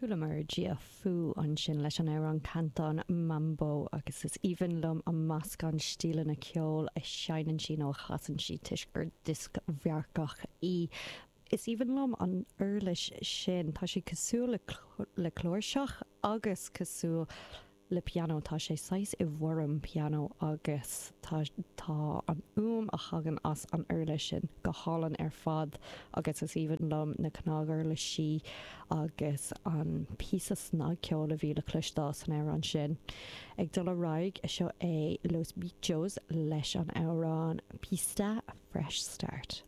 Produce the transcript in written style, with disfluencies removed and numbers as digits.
Chualamar Gia Fu ansin leis an amhrán Canton Mambo agus is aoibhinn liom an meascán stíleanna ceoil a sheinneann sí nó a chasann sí toisc gur dioscmharcach í. Is aoibhinn liom an uirlis sin, tá sé cosúil le cláirseach agus cosúil le pianó. Tá sé saghas i bhfoirm pianó agus tá tá an fhuaim a thagann as an uirlis sin go hálainn ar fad agus is aoibhinn liom na cnaguirlisí agus an píosa snagcheoil a bhí le cloisteáil san amhrán sin. Ag dul ar aghaidh, seo é Los Bitchos leis an amhrán Pista Fresh Start.